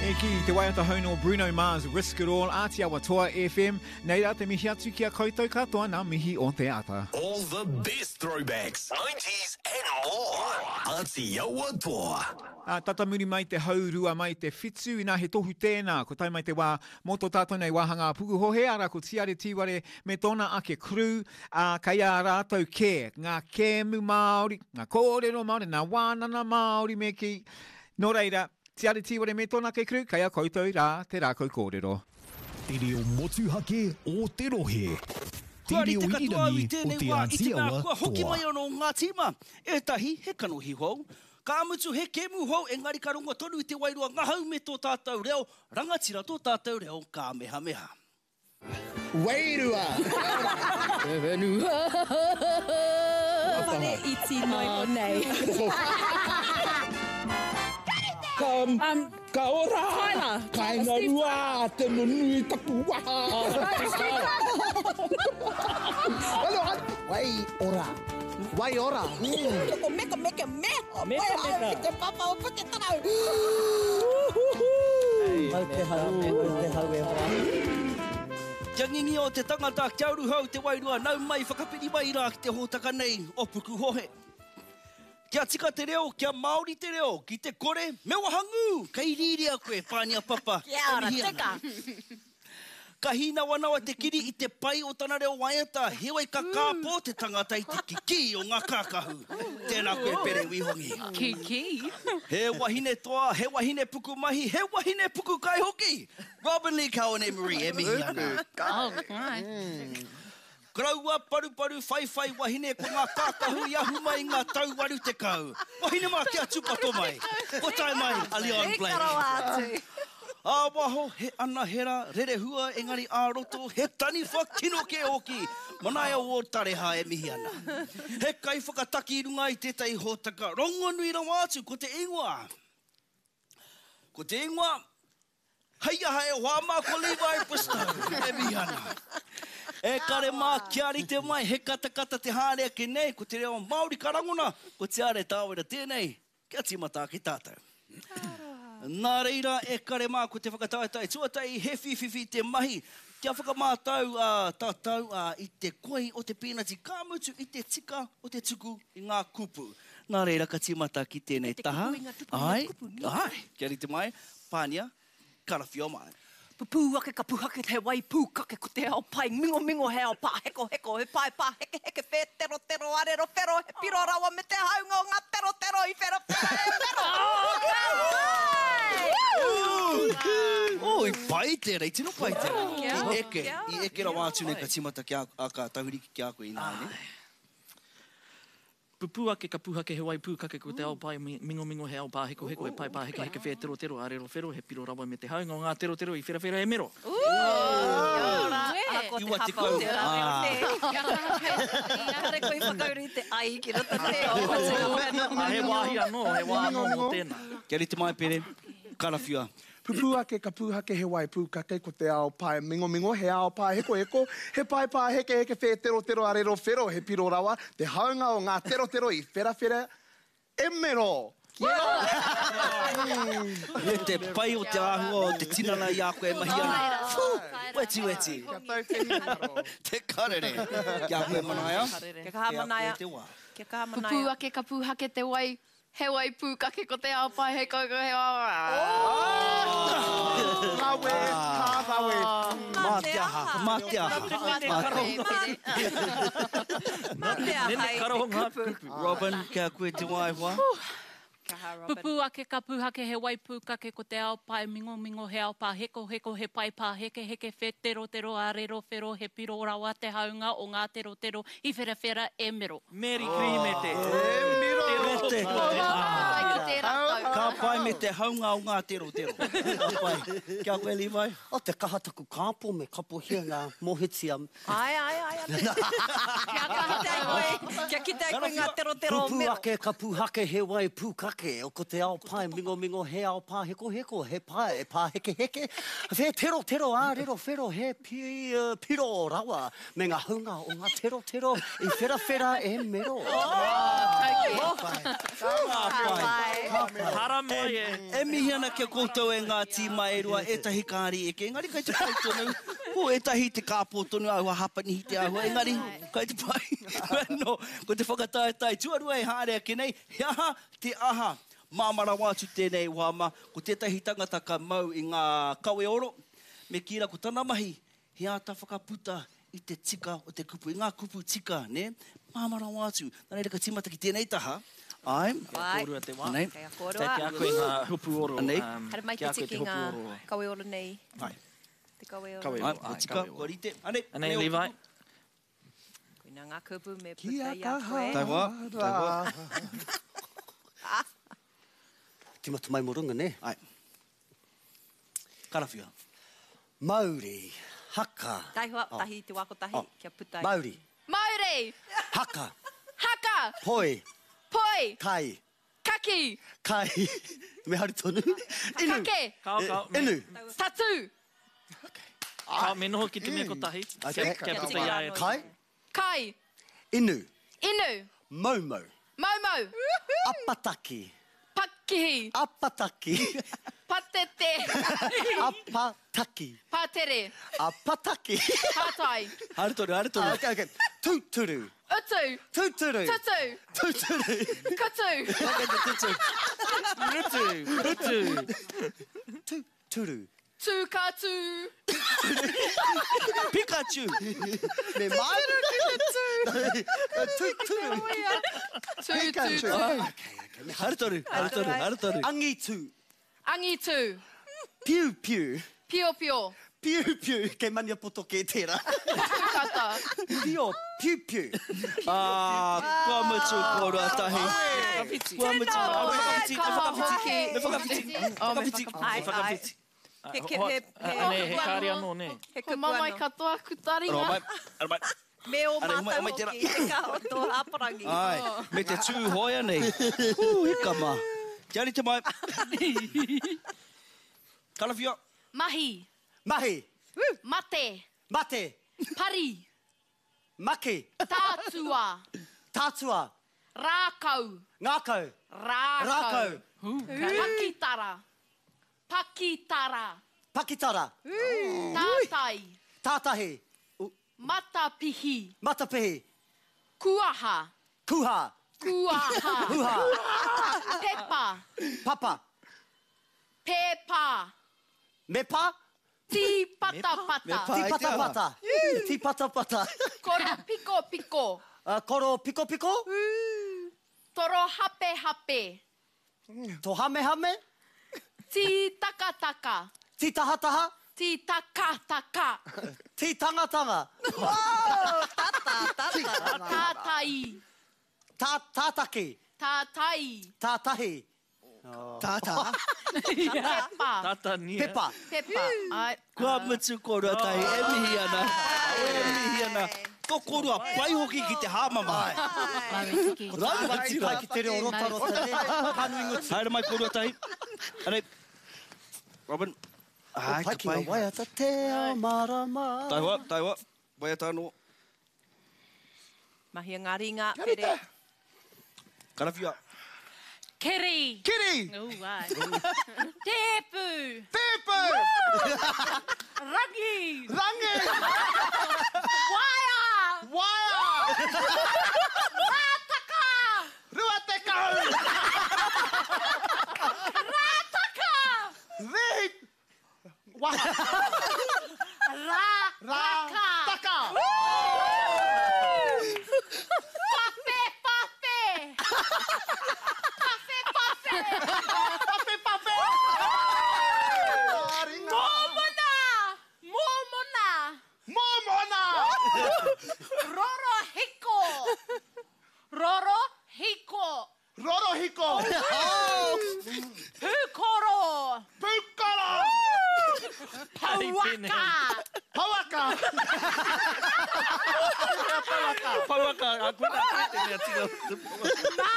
E ki te waiata hou nō Bruno Mars, Risk It All, Āti Awa Toa FM. Nei rā te mihi atu ki a koutou katoa nā mihi o te ata. All the best throwbacks, nineties and more. Āti Awa Toa. Ā, tata muri mai te haurua mai te whitu, inā he tohu tēnā, ko tae mai te wā mō tō tātou nei wāhanga a Pukuhohe, arā ko Tiare Tīware me tōna ake crew, ā, kei a rātou kē ngā kēmu Māori, ngā kōrero Māori, ngā wānana Māori me kī. Nō reira, Tiare Tīware me tōna ake crew, kei a koutou rā te rākau kōrero. Te reo motuhake o te rohe. Te Kua reo rite katoa au i irirangi o tēnei Te wā i Āti te mea Awa kua hoki toa. mai anō ngā tīma, ētahi he kanohi hou. Ka mutu he kēmu hou engari ka rongo tonu i te wairua ngahau me tō tātou reo rangatira tō tātou reo kāmehameha. Wairua! Te whenua. Whare iti noa iho nei. Ka, ka ora! Tyler. Kainga rua te nunui taku waha! Wai ora. Wai ora. Ko meka meka me. Meka meka. Ki te papa o Puketarau. Mau te hau, mau te hau e hoa. Kia ngingio te tangata, kia ruhau te wairua, nau mai whakapiri mai rā ki te hōtaka nei o Pukuhohe. Kia tika te reo, kia Māori te reo, ki te kore, me wahangū! Kei rīria koe, Pānia Papa, Kia e ora, mihi ana. tika. Ka hīnawanawa te kiri i te pai o tana reo waiata, heoi ka kāpō te tangata i te kikī o ngā kākahu. Tēnā koe Pere Wihongi. Kikī? He wahine toa, he wahine pukumahi, he wahine pukukai hoki! Robyn Lee Cowan Emery e mihi ana. Oh, right. Koroua paruparu whaiwhai wahine ko ngā kākahu i ahu mai i ngā tau 80. Wahine mā kia tūpato mai. Kua tae mai a Leon Blake. Ika rawa atu. Ā waho he anahera rerehua engari ā roto he taniwha kino kē hoki. Manaia Ward Tareha e mihi ana. He kaiwhakataki i runga i tētahi hōtaka rongonui rawa atu ko te ingoa. Ko te ingoa Hei aha e hoa mā ko Levi Bristow e mihi ana. E kare mā kia rite mai he katakata te haere ake nei ko te reo Māori ka rangona ko Tiare Tāwera tēnei kia tīmata ake tātou. Nā reira e kare mā ko te whakataetae tuatahi he whīwhiwhi te mahi kia whakamātau tātou i te koi o te pīnati ka mutu i te tika o te tuku i ngā kupu. Nā reira ka tīmata ki tēnei taha. Āe, āe, kia rite mai. Pānia, karawhio mai. Pupū ake ka puhake he wai pūkake ko te ao pai mingomingo he ao pāhekoheko he pae pāhekeheke whēterotero arero whero he piro rawa me te haunga o ngā terotero i wherawhera e whero. Oh, i pai tērā, i tino pai tērā. I eke, i eke rawa atu nei ka tīmata ki a, ka tahuri ki a koe ināianei. Pupū ake ka puhake he wai pūkake ko te ao pae mingomingo he ao pāhekoheko he pae pāhekeheke whēterotero arero whero he piro rawa me te haunga o ngā terotero i wherawhera e mero. Kia ora, ahakoa te hapa o te rā reo nē. Kia kaha koe i a Kare koe i whakauru i te ai ki roto nē. Ā, he wāhi anō, he wā anō mō tēnā. Kia rite mai Pere, karawhiua. Pupū ake ka pūhake he wai pūkake ko te ao pae mingomingo he ao pāhekoheko he pae pāhekeheke whēterotero arero whero he piro rawa te haunga o ngā terotero i wherawhera e mero! Me te pai o te āhua o te tinana i a koe e mahi ana. Whew! Weti weti. Kia tau te hinengaro. Te karere. Ki a koe Manaia. Kia kaha Manaia. Kei a koe te wā. Kia kaha Manaia. Pupū ake ka pūhake te wai He wai pūkake ko te ao pai he koukou he Rawe, ka rawe. Mā te aha, mā te aha. Mā te aha i te kupu. Robyn, ki a koe te wā e hoa. Pupū ake ka pūhake he wai pūkake ko te ao pae mingomingo he ao pāhekoheko he pae pāhekeheke whēterotero ārero whero he piro rawa te haunga o ngā terotero i wherawhera e mero. Meri Kirīmete. E miro! Me te. Pai ki tērā tau. Ka pai me te haunga o ngā terotero. Ka pai. Ki a koe Levi. Oh te kaha taku kāpo me kapohia ngā mohitia. Ae, ae, ae, ae. Kia kaha koe, kia kite ai koe ngā terotero o Pupū mero. ake ka pūhake he wai pūkake, ko te ao pae mingomingo he ao pāhekoheko, he pae pāhekeheke, whēterotero ārero whero he piro rawa. Me nga hunga o nga terotero i wherawhera e mero. Ka pai. Ka pai. Haramai e. E mihi ana ki a koutou e ngā tīma e rua, ētahi kāri eke, engari kai te pai tonu. Ko ētahi te kāpō tonu āhua Hapanihi te āhua, engari kai te pai. Anō, ko te whakataetae tuarua e haere ake nei, he aha te aha? Māmā rawa atu tēnei wā mā, ko tētahi tangata ka mau i ngā kawe oro, me kī rā ko tana mahi, he āta whakaputa i te tika o te kupu, i ngā kupu tika, nē? Māmā rawa atu. Nā reira ka tīmata ki tēnei taha, āe. Kei a kōrua te wā. Anei. Kei a kōrua. Kei a koe ngā hopu oro. Anei. Haere mai Ki a te koe te tiki hopu ngā oro. kawe oro nei. Āe. Te kawe oro. Kawe Āe, oro, kua āe, tika, kawe oro. kua rite. Anei, Anei, anei ō Levi. kupu. Koina ngā kupu me Kia puta i a kaha koe. Taihoa, taihoa. Timata mai mo runga, ne? Ai. Karawhia. Mauri, haka. Taihoa, tahi te wā kotahi, Oh. kia puta i. Mauri, Mauri! haka, Haka! poi, Poi! kai, Kaki! kai, me haere tonu, inu, Kake! Kao, kao, me, inu. Tatū! kao, me noho ki te mea kotahi. Okay. Kia puta i a ia. Kai, Kai! inu, Inu! moumou, Moumou! apataki, Pakihi! apataki, Patete! apataki, Pātere! apataki. Pātai! Haere tonu, haere tonu. Ah, okay, okay. Tūturu, Utu! tūturu, Tutu! tūturu. Kutu! Tutu. Rutu, rutu. Tūturu. Tūkatū! Pikachu! Me mai. Tūturu. Tūtū! Haere tonu, haere tonu, haere tonu. Angitu. Angitu! Piu piu. Pio pio! Piu piu. Kei Maniapoto kē tērā. Tūkata! Pio, piu piu. Ah, kua mutu kōrua tahi. Kua mutu. Tēnā, Me whakawhiti, me kaha whakawhiti, hoki. me whakawhiti, Oh, me whakawhiti, whakawhiti. Me Ai, ai. whakawhiti. He, he, he, he, Anei, he kāri anō, nē. he Ko kupu mamae anō. katoa ku taringa. Aro mai, aro mai. Me ō Are, homai, mātou homai tērā. hoki, te kaha o tō hāparangi. Ai, me te tū hoea nei. Hū, hika mā. Kia rite mai. Karawhia. Mahi. Mahi. Mate. Mate. Pari. Maki. Tātua. Tātua. Rākau. Ngākau. Rākau. Rākau. Pakitara. Pakitara. Pakitara. Tātai. Tātahi. Matapihi. Matapihi. Kuaha. Kuha. Kuaha. Huha. Pepa. Papa. Pēpā. Mepa. Tīpatapata. Tīpatapata. Tīpatapata. Koro piko piko. Koro piko piko. Toro hape hape. Tohamehame. Tītakataka. Tītahataha. Tītakataka. Tītangatanga. Tata, tata. Tātai. Tā, tātaki. Tātai. Tātahi. Tātā. Pepa. Tata nia. Pepa. Pepa. Ai. Kua mutu kōrua tahi, e mihi ana. E mihi ana. Tō kōrua pai hoki ki te hāmama. Rangatira. Pai ki te reo rotarota, ne? Ka nui ngutu. Haere mai kōrua tahi. Anei. Robin. Ai, Pai ka ki ngā pai. waiata te ao marama. Taihoa, taihoa. Waiata anō. Mahia ngā ringa, pere. Karawhia. Keri. Kiri! Ooh, ai. Tēpu. Tēpu! Rangi. Rangi! Waea. Waea! Rātaka. 20! Rātaka. Rihi! Waha! Rātaka. Taka! Pape, pape. Pape, pape. Pape, pape! Ringa. Mōmona. Mōmona. Mōmona! Roro hiko. Roro hiko. Rorohiko! Pūkoro. Pūkoro! Pouaka. Pouaka! Pouaka, a koe nā koe te mea tika. Mā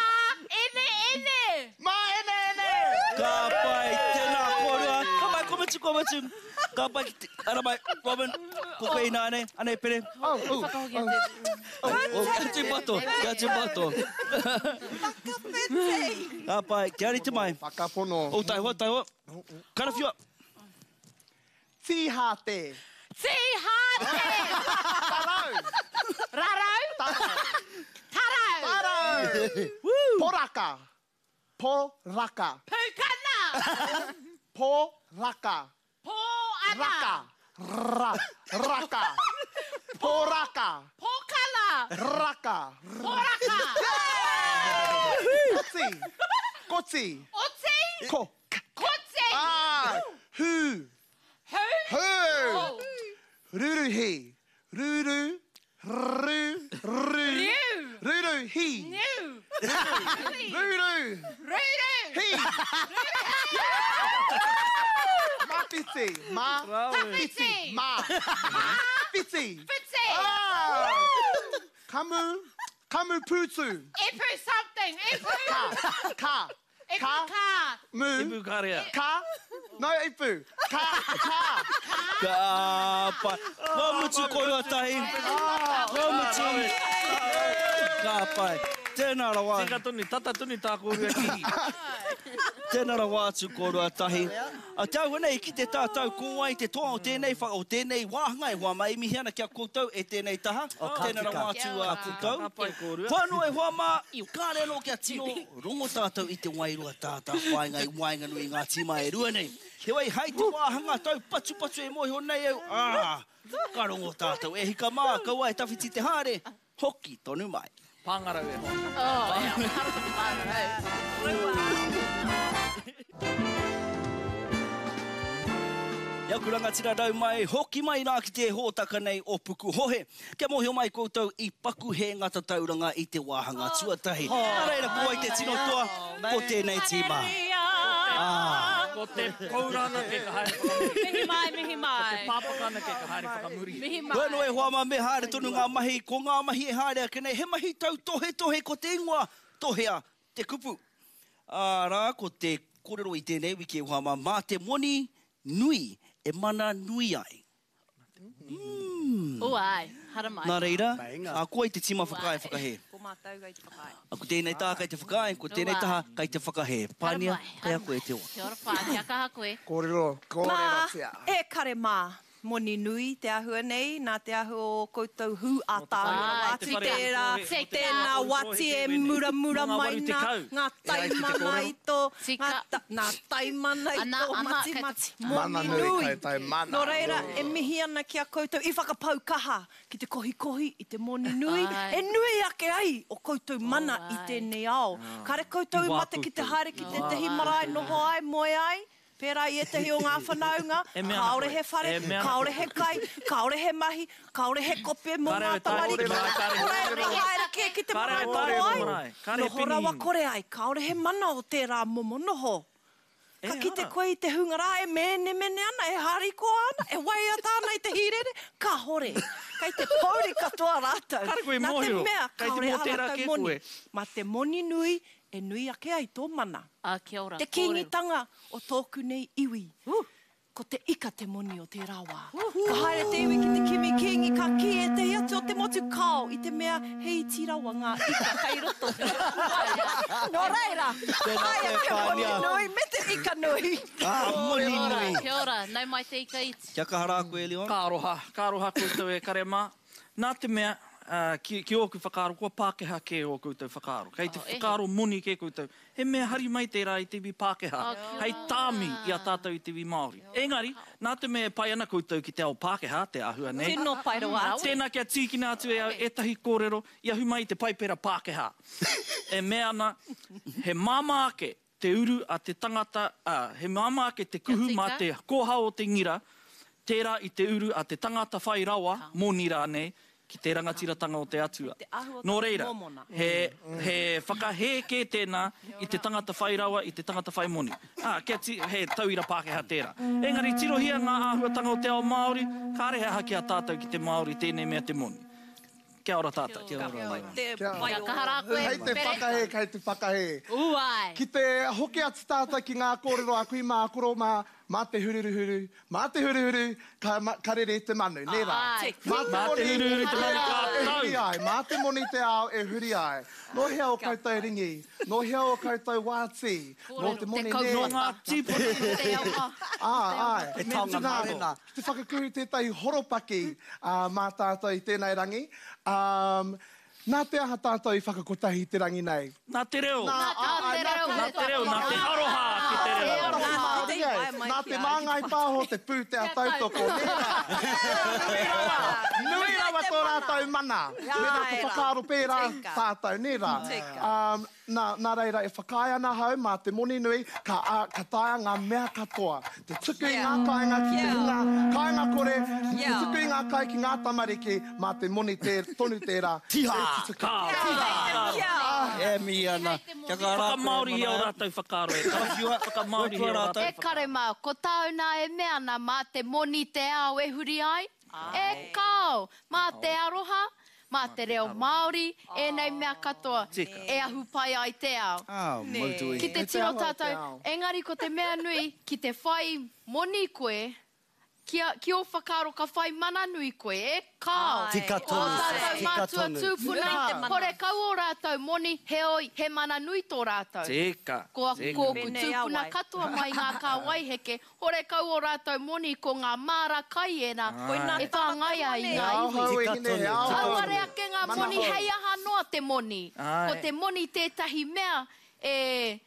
ene ene. Mā ene ene! Ka pai, tēnā kōrua. Ka mai, ko mutu. mutu, kua mutu. Ka pai ki te... Ara mai, Robin, ko koe ināianei. Anei, Pere. Oh, oh, Whakahoki oh. atu. Oh, kia tūpato, kia tūpato. Whakawhiti! Ka pai, kia rite mai. Whakapono. Oh, taihoa, taihoa. Karawhiua. Tīhāte. Tīhāte! Tarau. Rarau! Tarau. Tarau! Tarau. Poraka. Poraka. Pūkana! Poraka. Pōana! Raka. Ra. Raka. Poraka. Pōkana! Raka. Poraka! Koti. Koti. Oti! Ko. Koti! Ah. Hu. Hu! Hu. Oh. Ruruhi. Ruru. Ru. Ru. Riu! Ruruhi. Niu! Ruru. Ruru! Hi. Mawhiti. Ma. Tawhiti. Ma. Whiti. Whiti! Ah. Kamu. Kamu pūtu. Ipu something! Ipu! Ka. Ka. Ipu Ka. ka! Mu. Ipu karea. Ka. No, ipu. Ka. Ka. Ka pai. Kua mutu kōrua tahi. Kua mutu. Ka pai. Tēnā rawa. Tika tonu, tata tonu tā kōrua kī. Tēnā rawa atu kōrua tahi. A te āhua nei, i kite tātou ko wai te toa o tēnei, wha, o tēnei wāhanga e hoa mā e mihi ana ki a koutou e tēnei taha. Tēnā rawa atu a koutou. Ka pai kōrua. Whānau e hoa mā, kāre anō kia tino rongo tātou i te wairua tātāwhāinga i waenganui i ngā tīma e rua nei. Heoi, hai te wāhanga taupatupatu e mōhio nei au, ā, ka rongo tātou. E hika mā, kaua e tawhiti te haere, hoki tonu mai. Pāngarau e hoa. Oh, e, mahara te pāngarau. E aku rangatira rau mai, hoki mai rā ki te hōtaka nei o Pukuhohe. Kia mōhio mai koutou i paku hē ngā tatauranga i te wāhanga tuatahi. Nā reira, ko wai te tino toa, ko tēnei tīma. Ko te koura anake ka haere whakamuri. Mihi mai, mihi mai. Ko te pāpaka anake ka haere whakamuri. Mihi mai. Bueno e hoa mā, me haere tonu ngā mahi, ko ngā mahi e haere ake nei, he mahi tautohetohe ko te ingoa, tohea te kupu. Arā, ko te kōrero i tēnei wiki e hoa mā, mā te moni nui e mana nui ai. Ū āe, haramai. Nā reira, a koe te tīma whakaae whakahē. Ko mātou kei te whakaae. A ko tēnei taha kei te whakaae, ko tēnei taha kei te whakahē. Pānia, kei a koe te wā. Kia ora Pā, kia kaha koe. Kōrero, kōrerotia. Mā, e kare mā. Moni nui te ahua nei, nā te ahua o koutou hū ātaahua rawa atu tērā, tēnā wati e muramura mai nā, ngā taimana i tō, ngā, nā taimana i tō matimati, moni nui. Nō reira, e mihi ana ki a koutou i whakapau kaha ki te kohikohi i te moni nui, e nui ake ai o koutou mana i tēnei ao. Kāre koutou i mate ki te haere ki tētehi marae noho ai, moe ai, Pērā i ētahi o ngā whanaunga, kāore he whare, kāore he kai, kāore he mahi, kāore he kope mō ngā tamariki, kore e haere kē ki te marae noho ai, noho rawa kore ai, kāore he mana o tērā momo noho. Ka kite koe i te hunga rā e mēnemene ana, e harikoa ana, e waiata ana i te hīrere, kāore. Kei te pōuri katoa rātou, nā te mea kāore ā rātou moni. Mā te moni nui e nui ake ai tō mana. Ā, kia ora, Te kīngitanga o tōku nei iwi. Ko te ika te moni o tērā wā. Ka haere te iwi ki te kimi kīngi, ka kī ētahi atu o te motu kāo i te mea he iti rawa ngā ika kei roto. Nō reira, aia te moni nui me te ika nui. Ka moni nui. Kia ora, nau mai te ika iti. Kia kaha rā koe, Leon. Ka aroha, ka aroha koutou e kare mā. Nā te mea, ki, ki ōku whakaaro, kua Pākehā kē ō koutou whakaaro. Kei te whakaaro moni kē koutou. He mea hari mai tērā i te iwi Pākehā, hei tāmi i a tātou i te iwi Māori. Engari, nā te mea e pai ana koutou ki te ao Pākehā, te āhua nei, Tino pai rawa atu. tēnā kia tīkina atu e au ētahi kōrero i ahu mai i te Paipera Pākehā, e mea ana, he māmā ake te uru a te tangata, ā, he māmā ake te kuhu mā te kōhao o te ngira, tērā i te uru a te tangata whai rawa, moni rānei, ki te rangatiratanga o te Atua. Nō reira, he, he whakahē kē tēnā i te tangata whai rawa, i te tangata whai moni. Ā, kia ti, he tauira Pākehā tērā. Engari tirohia ngā āhuatanga o te ao Māori, kāre he aha ki a tātou ki te Māori tēnei mea te moni. Kia ora tātou. Kia ora, Leon. Kia kaha rā koe, Kei te whakahē, kei te whakahē. Ū ai. Ki te hoki atu tātou ki ngā kōrero a kui mā, koro mā, Mā te hururuhuru, mā te huruhuru, ka, ka rere te manu, nē rā? Āe. Mā te Mā te moni huruhuru te manu ka e tau. huri ai, mā te moni te ao e huri ai. Nō hea ō koutou ringi? Nō hea ō koutou wāti? Nō te moni nē? Nō ngā tīpuna. Te awa. Ā, āe. He taonga Nā, mārena. Ki te whakakuhu tētahi horopaki mā tātou i tēnei rangi. Nā te aha tātou i whakakotahi i te rangi nei? Nā te reo. Nā te reo. Nā te reo, nā te aroha ki te reo. Nā te aroha Māori, nā te Māngai Pāho te pūtea tautoko, nē rā? Nui rawa, nui rawa tō rātou mana. Mēnā ka whakaaro pērā tātou, nē rā? Nā, nā reira e whakaae ana ahau mā te moni nui ka, ā, ka taea ngā mea katoa. Te tuku i ngā kāinga ki te hunga kāinga kore, te tuku i ngā kai ki ngā tamariki, mā te moni tē, tonu tērā. Tiha! E tutuki. Ka, tiha! Ā, e mihi ana. Kia kaha rā koe, Whakamāorihia ō Manaia. rātou whakaaro e tara. Whakamāorihia ō rātou E kare mā, ko tāu nā e mea ana mā te moni te ao e huri ai? E kāo, mā te aroha, Mā te reo Māori ēnei mea katoa e ahu pai ai te ao. Ki te tiro tātou, engari ko te mea nui, ki te whai moni koe, kia, ki ō whakaaro ka whai mana nui koe, e kāo! Tika Ō tonu, tātou tika mātua tonu. tūpuna, horekau ō rātou moni, heoi, he mana nui tō rātou. Tika, Ko tika. aku tūpuna katoa mai ngā kāwai heke, horekau ō rātou moni ko ngā māra kai ērā e whāngai ai i ngā iwi. Tika tonu, tika Auare tonu. ake ngā moni hei aha noa te moni. Ko te moni tētahi mea e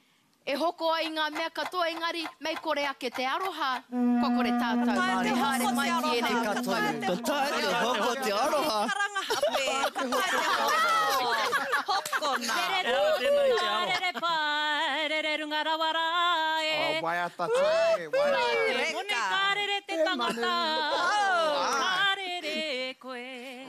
e hoko ai i ngā mea katoa engari mei kore ake te aroha kua kore tātou e haere mai ki ēnei Tika tonu. Ka taea te hoko te aroha. Rere Ehara tēnā i te tū, aro. rere pai, rere runga rawa rā e. Oh, waiata tē, waiata. Te moni ka rere te tangata, ka rere koe.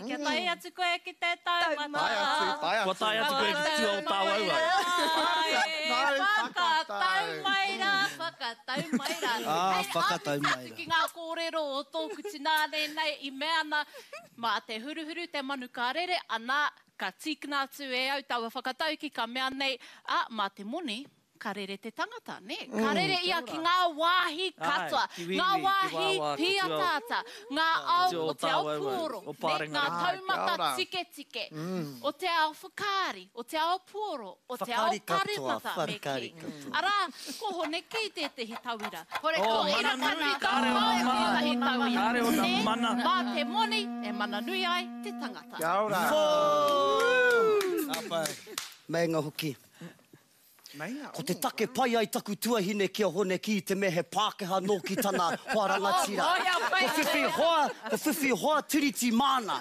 Kia tae atu koe ki te taumata. Tae atu, tae atu. Kua tae atu koe ki tua o Tāwauwau. Whakatau mai rā, whakatau mai rā. Ah, Hei whakatau mai āpiti atu rā. ki ngā kōrero o tōku tināne nei i mea ana, mā te huruhuru te manu ka rere, ana, ka tīkina atu e au taua whakatauki ka mea nei, ā, mā te moni, ka rere te tangata, nē? Ka rere ia ki ngā wāhi katoa, Āe, ki wīwī, ngā ki wāhi wāwā, ki tua o- pīataata, ngā ao tua o o te ao Tāwauwau, puoro, o nē, ngā Pārengarenga. taumata Kia ora. tiketike, o te ao whakaari, o te ao puoro, o te ao Whakaari katoa, paremata, me kī. whakaari katoa. Arā, ko Hone Kī tētehi tauira. Hore Oh, ko mana Ira nui, Kati kāre ona Taupae mana. tētahi tauira. Kāre ona Nē, mana. Mā te moni e mana nui ai te tangata. Kia ora. Ka pai. Meinga hoki. Meinga. Ko te take pai ai taku tuahine ki a Hone Kī te mea he Pākehā nōki tana hoa rangatira. Ko whiwhi hoa, ko whiwhi hoa tiriti māna.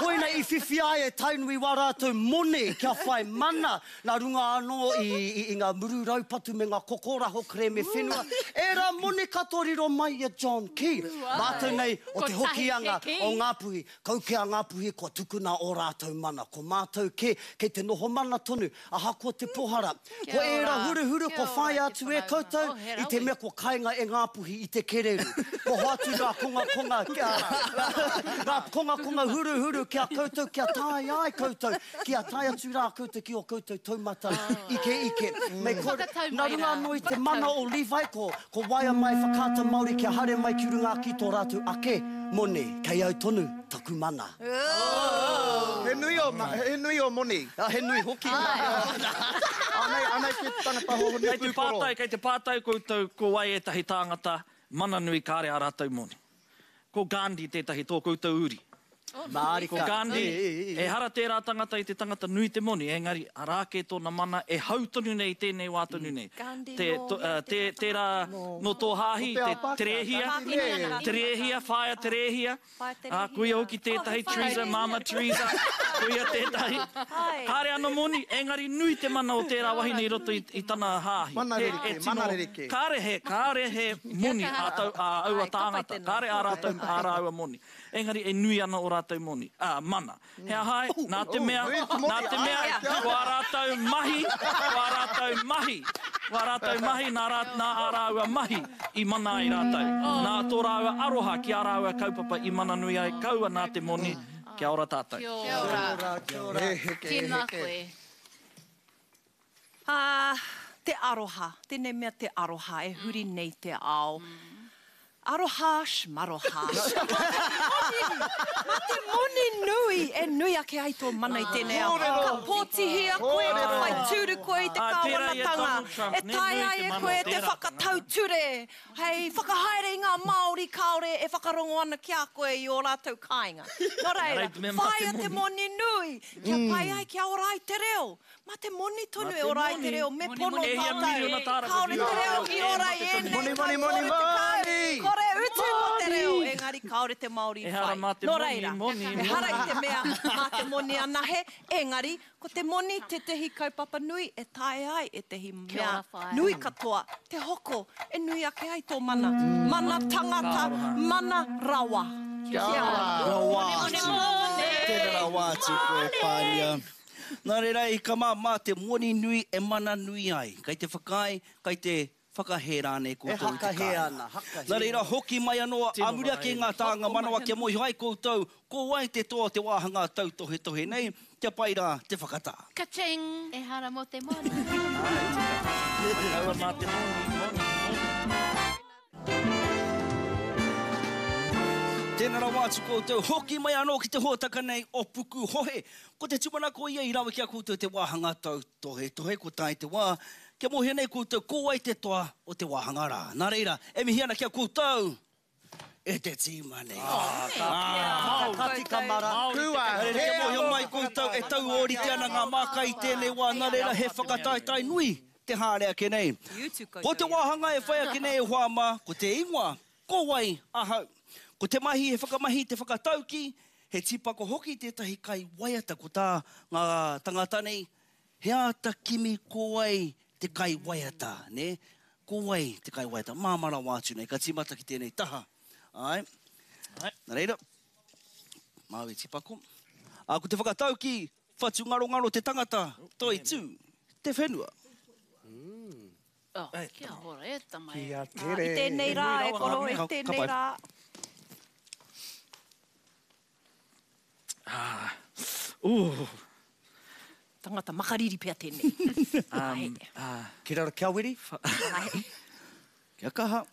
Koina i whiwhi ai e Tainui wā rātou moni kia whai mana nā runga anō i, i, i ngā muru raupatu me ngā kokoraho kerēme whenua. Ērā moni katoa riro mai i a John Key. Mātou nei o Te Kotahi Hokianga te kī. o Ngāpuhi. Kau kē a Ngāpuhi kua tukuna ō rātou mana. Ko mātou kē kei te noho mana tonu, ahakoa te pohara. Ko ērā huruhuru kua whāia atu e koutou i te mea kua kainga e Ngāpuhi i te kererū. Kua hoatu ngā kongakonga kia, ngā kongakonga huruhuru ki a koutou kia tae ai koutou, kia tae atu rā koutou ki ō koutou taumata ikeike. Me kore, nā runga anō i te mana o Levi ko, ko waia mai Whakaata Māori kia haere mai ki runga ki tō rātou ake moni, kei au tonu taku mana. He nui o, he nui o moni. Ah, he nui hoki. Anei, anei ki te tangata hohonu Kei te pūkoro. pātai, kei te pātai koutou ko wai ētahi tāngata mana nui kāre ā rātou moni. Ko Gandhi tētahi tō koutou uri. Mārika. Ko Gandhi, ehara tērā tangata i te tangata nui te moni, engari arā kē tōna mana e hau tonu nei i tēnei wā tonu nei. Gandhi Te, nō to, uh, te, tērā nō tō hāhi, Nō te te ao Pākehā, Terehia, Gandhi, nē. Terehia, whaea Terehia, Whaea ā, Terehia. koia hoki tētahi, Oh, he whaea Teresa, Mama Teresa, koia tētahi. Ai. Kāre ana moni, engari nui te mana o tērā wahine i roto i, i tana hāhi. Mana He- rerekē, e tino- mana rerekē. Kāre he, kāre he moni ā, tau, ā aua tāngata, kāre ā rātou, ā rāua moni. Engari e nui ana o rātou moni, ā, mana. He aha ai, nā te mea, nui te moni, nā te mea, ai, kia ko ā rātou mahi, ko ā rātou mahi, ko ā rātou mahi, nā, rā, nā ā rāua mahi i mana ai rātou. Nā tō rāua aroha ki ā rāua kaupapa i mana nui ai, kaua nā te moni, kia ora tātou. Kia ora. He heke, he Tēnā heke. koe. Ā, Te aroha, tēnei mea te aroha e huri nei te ao. Aroha shmaroha. Mā te moni nui e nui ake ai tō mana i tēnei ao. Ka pōtihia koe, ka whai tūru koe i te kāwanatanga, e taea ai e koe te whakatau ture hei whakahaere i ngā Māori kāore e whakarongo ana ki a koe i ō rātou kāinga. Nō reira, whāia te moni nui kia pai ai, kia ora ai te reo. Mā te moni tonu e ora ai te reo, me pono tātou. Kāore te reo i ora i ēnei tau 30, kore utu mō te reo, engari kāore te Māori i whai. Nō reira, ehara i te mea mā te moni anahe, engari ko te moni tētehi kaupapa nui e taea ai ētehi mea nui katoa te hoko e nui ake ai tō mana. Mana tangata, mana rawa. Kia ora. Rawa atu. Tēnā rawa atu koe, Pānia. Nā reira, i ka mā, mā te moni nui e mana nui ai. Kei te whakaae, kei te whakahē rānei koutou i te kāinga. Nā reira, hoki mai anō ā muri ake i ngā tānga manawa kia mōhio ai koutou ko wai te toa o te wāhanga tautohetohe nei, kia pai rā te whakatā. Ka-ching! Ehara mō te moni. Āe, tika. Kaua mā te moni, moni, moni. Tēnā rawa atu koutou, hoki mai anō ki te hōtaka nei o Pukuhohe. Ko te tūmanako ia i rawe ki a koutou te wāhanga tautohetohe, kua tae te wā kia mōhio nei koutou ko wai te toa o te wāhanga rā. Nā reira, e mihi ana ki a koutou e te tīma nei. Ka tika mara. Nā reira, kia mōhio mai koutou e tau ōrite ana ngā māka i tēnei wā, nā reira he whakataetae nui te haere ake nei. Ko te wāhanga e whai ake nei e hoa mā, ko te ingoa, Ko wai ahau? Ko te mahi he whakamahi i te whakatauki, he tīpako hoki tētahi kaiwaiata. Ko tā ngā tangata nei, he āta kimi ko wai te kaiwaiata, nē? Ko wai te kaiwaiata? Māmā rawa atu nei, ka tīmata ki tēnei taha. Āe. Nā reira, māu e tīpako. Ā, ko te whakatauki, Whatungarongaro te tangata, toitū te whenua. Oh, kia ora e tama e. Kia tere. I tēnei rā e koro, i tēnei rā. Ah, ooh. Tangata makariri pea tēnei. Um, ah. Kia raro, kia wiri. Kia kaha.